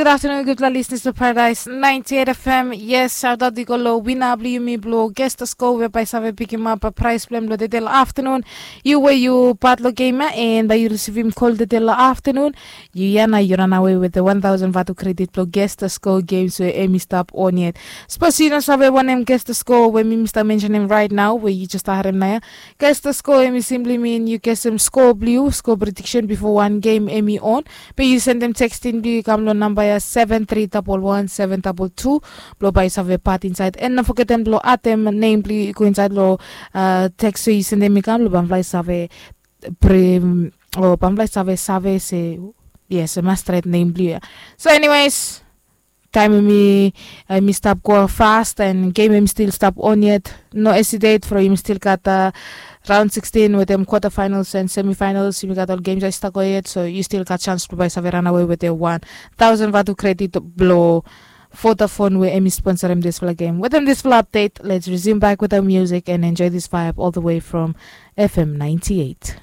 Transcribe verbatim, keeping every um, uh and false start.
Good afternoon, gutpela listeners of Paradise ninety-eight F M. Yes, shout out i go lo wina blo yumi blo Gesta Score we bai save pikim up a prize plan blo tete lo afternoon. You we you part lo game ya and bai you receive him call tete lo afternoon. You ya na you run away with the one thousand vatu credit blo Gesta Score games we emi stop on yet. Suppose you no save wanem Gesta Score we mi start mention him right now we you just heard him na ya. Gesta Score emi simply mean you get some score blo you, score prediction before one game emi on. Be you send them texting blo you kam lo number ya seven three double one seven double two. Blo bai save part inside and no forget them blo atem name blo you go inside lo uh, text so you send them i kam lo bamfly save prim o bamfly save save se yes mas straight name blo you. So anyways, time emi emi stop go fast and game emi still stop on yet. No hesitate for emi still got uh, round sixteen with them quarterfinals and semifinals. Emi got all games I stuck on yet, so you still got chance to buy save run away with the one thousand vatu credit blo Vodafone we emi sponsor him this fla game. With them this fla update, let's resume back with our music and enjoy this vibe all the way from F M ninety-eight.